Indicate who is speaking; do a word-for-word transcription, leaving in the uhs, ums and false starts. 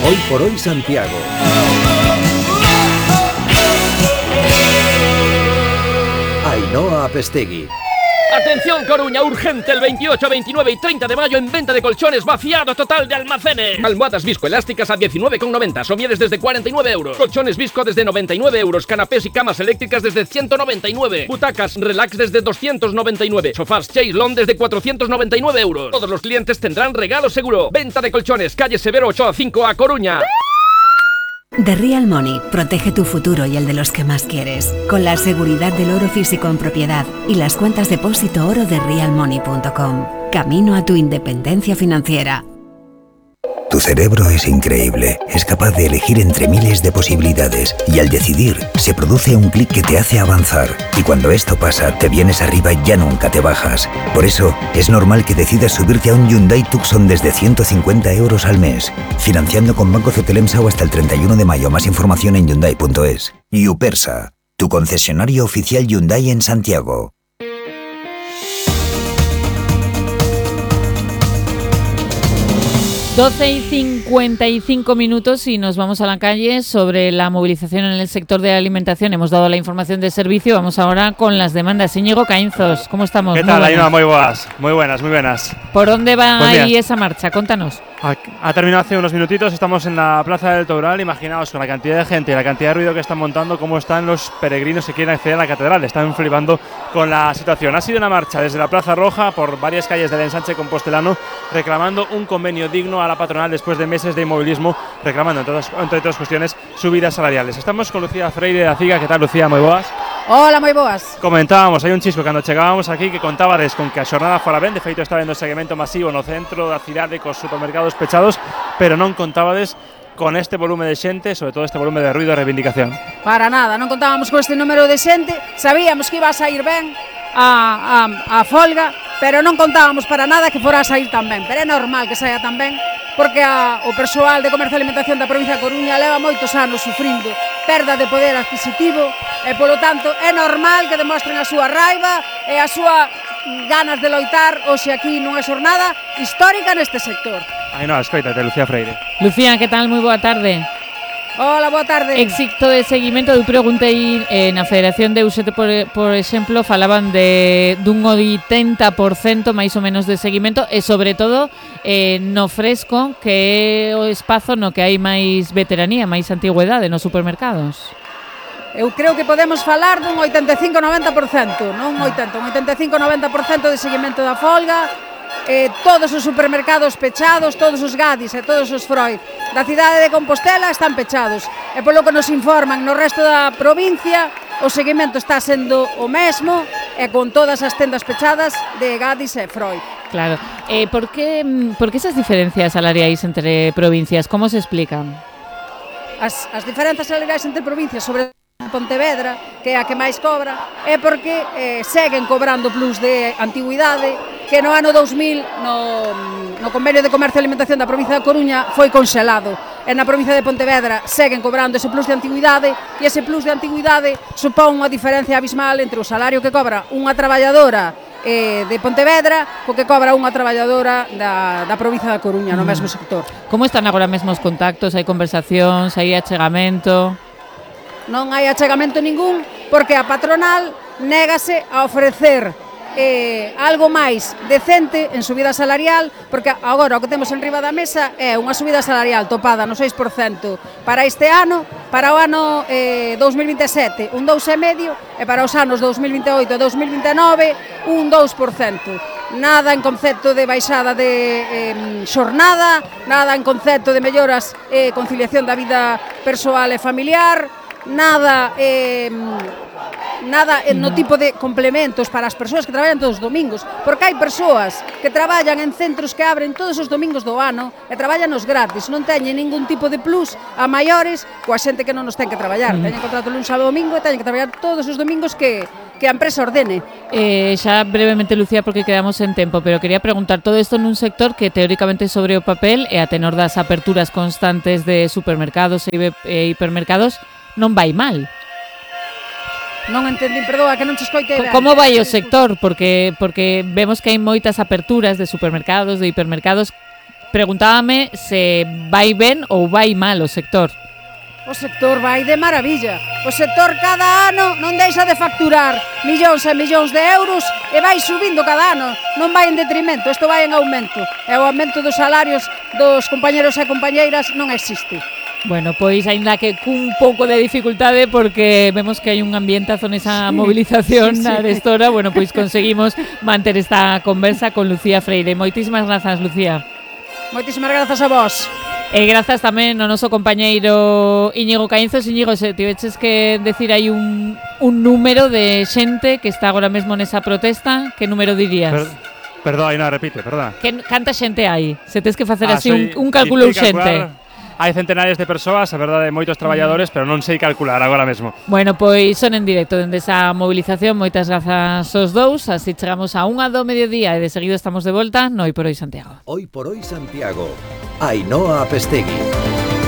Speaker 1: Hoy por hoy Santiago. Ainhoa Apestegui.
Speaker 2: Atención Coruña, urgente el veintiocho, veintinueve y treinta de mayo en venta de colchones, vaciado total de almacenes. Almohadas viscoelásticas a diecinueve con noventa, somieres desde cuarenta y nueve euros. Colchones visco desde noventa y nueve euros, canapés y camas eléctricas desde ciento noventa y nueve. Butacas relax desde doscientos noventa y nueve. Sofás Chaise-Longue desde cuatrocientos noventa y nueve euros. Todos los clientes tendrán regalo seguro. Venta de colchones, calle Severo Ochoa cinco a Coruña.
Speaker 3: The Real Money protege tu futuro y el de los que más quieres, con la seguridad del oro físico en propiedad y las cuentas depósito oro de real money punto com. Camino a tu independencia financiera.
Speaker 4: Tu cerebro es increíble, es capaz de elegir entre miles de posibilidades y al decidir se produce un clic que te hace avanzar y cuando esto pasa te vienes arriba y ya nunca te bajas. Por eso es normal que decidas subirte a un Hyundai Tucson desde ciento cincuenta euros al mes, financiando con Banco Cetelemsau hasta el treinta y uno de mayo. Más información en hyundai punto es. Yupersa, tu concesionario oficial Hyundai en Santiago.
Speaker 5: doce y cincuenta y cinco minutos y nos vamos a la calle sobre la movilización en el sector de la alimentación. Hemos dado la información de servicio, vamos ahora con las demandas. Íñigo Caínzos, ¿cómo estamos?
Speaker 6: ¿Qué tal, Ainhoa? Muy buenas, muy buenas, muy buenas.
Speaker 5: ¿Por dónde va ahí esa marcha? Contanos.
Speaker 6: Ha, ha terminado hace unos minutitos, estamos en la Plaza del Toural. Imaginaos con la cantidad de gente y la cantidad de ruido que están montando, cómo están los peregrinos que quieren acceder a la catedral. Están flipando con la situación. Ha sido una marcha desde la Plaza Roja por varias calles del ensanche compostelano reclamando un convenio digno a la patronal después de meses de inmovilismo, reclamando entre otras, entre otras cuestiones subidas salariales. Estamos con Lucía Freire de Aciga. ¿Qué tal, Lucía? Moi boas.
Speaker 7: Hola, moi boas.
Speaker 6: Comentábamos, hai un chisco cando chegábamos aquí que contábades con que a xornada fora ben, de feito está vendo seguimento masivo no centro da cidade cos supermercados pechados, pero non contábades con este volume de xente, sobre todo este volume de ruido e reivindicación.
Speaker 7: Para nada, non contábamos con este número de xente, sabíamos que iba a sair ben a, a, a folga, pero non contábamos para nada que fora a sair tan ben, pero é normal que saia tan ben, porque a, o persoal de Comercio e Alimentación da provincia de Coruña leva moitos anos sufrindo perda de poder adquisitivo e, polo tanto, é normal que demostren a súa raiva e a súa ganas de loitar hoxe aquí nunha xornada histórica neste sector.
Speaker 6: Ai, no, escoítate, Lucía Freire.
Speaker 5: Lucía, que tal? Moi boa tarde.
Speaker 7: Hola, boa tarde.
Speaker 5: Éxito de seguimento, eu preguntei eh, na Federación de Usete, por, por exemplo, falaban de dun oitenta por cento máis ou menos de seguimento e, sobre todo, eh, no fresco, que é o espazo no que hai máis veteranía, máis antigüedade nos supermercados.
Speaker 7: Eu creo que podemos falar dun oitenta e cinco a noventa por cento, non oitenta, un oitenta e cinco a noventa por cento de seguimento da folga. Eh, todos os supermercados pechados, todos os Gadis e todos os Freud da cidade de Compostela están pechados e polo que nos informan no resto da provincia o seguimento está sendo o mesmo e con todas as tendas pechadas de Gadis e Freud.
Speaker 5: Claro, eh, por, que, por que esas diferencias salariais entre provincias? Como se explican?
Speaker 7: As, as diferenzas salariais entre provincias, sobre Pontevedra, que é a que máis cobra, é porque eh, seguen cobrando plus de antigüidade que no ano dous mil no, no convenio de comercio e alimentación da provincia da Coruña foi conxelado e na provincia de Pontevedra seguen cobrando ese plus de antigüidade e ese plus de antigüidade supón unha diferencia abismal entre o salario que cobra unha traballadora eh, de Pontevedra co que cobra unha traballadora da, da provincia da Coruña no mesmo sector.
Speaker 5: Como están agora mesmo os contactos? Hai conversacións? Hai achegamento?
Speaker 7: Non hai achegamento ningún porque a patronal négase a ofrecer eh, algo máis decente en subida salarial, porque agora o que temos en riba da mesa é unha subida salarial topada no seis por cento para este ano, para o ano eh, dous mil vinte e sete un dous por cento e para os anos dous mil vinte e oito e dous mil vinte e nove un dous por cento. Nada en concepto de baixada de eh, xornada, nada en concepto de melloras e eh, conciliación da vida persoal e familiar, nada eh, nada no tipo de complementos para as persoas que traballan todos os domingos, porque hai persoas que traballan en centros que abren todos os domingos do ano e traballan os gratis, non teñen ningún tipo de plus a maiores coa xente que non nos ten que traballar, mm. teñen contrato un sábado domingo e teñen que traballar todos os domingos que que a empresa ordene.
Speaker 5: Eh, xa brevemente, Lucía, porque quedamos en tempo, pero quería preguntar, todo isto nun sector que teóricamente sobre o papel e a tenor das aperturas constantes de supermercados e hipermercados non vai mal.
Speaker 7: Non entendín, perdoa, que non che escoite ben.
Speaker 5: Como vai o sector? Porque porque vemos que hai moitas aperturas de supermercados, de hipermercados. preguntábame se vai ben ou vai mal o sector.
Speaker 7: O sector vai de maravilla. O sector cada ano non deixa de facturar millóns e millóns de euros e vai subindo cada ano. Non vai en detrimento, isto vai en aumento. E o aumento dos salarios dos compañeros e compañeiras non existe.
Speaker 5: Bueno, pois aínda que cun pouco de dificultade porque vemos que hai un ambientazo nesa sí, mobilización sí, sí. na Arestora, bueno, pois conseguimos manter esta conversa con Lucía Freire. Moitísimas grazas, Lucía.
Speaker 7: Moitísimas grazas a vos.
Speaker 5: E grazas tamén ao noso compañeiro Íñigo Caínzos. Íñigo, se tiveches que decir aí un, un número de xente que está agora mesmo nesa protesta, que número dirías? Per,
Speaker 6: perdón, non, repite, perdón.
Speaker 5: Que, canta xente hai? Se tes que facer
Speaker 6: ah,
Speaker 5: así un, un cálculo urxente.
Speaker 6: Hai centenares de persoas, a verdade, moitos traballadores, pero non sei calcular agora mesmo.
Speaker 5: Bueno, pois son en directo dende esa movilización. Moitas grazas aos dous. Así chegamos a unha do mediodía e de seguido estamos de volta no Hoy por Hoy Santiago.
Speaker 1: Hoy por Hoy Santiago. Ainhoa Apestegui.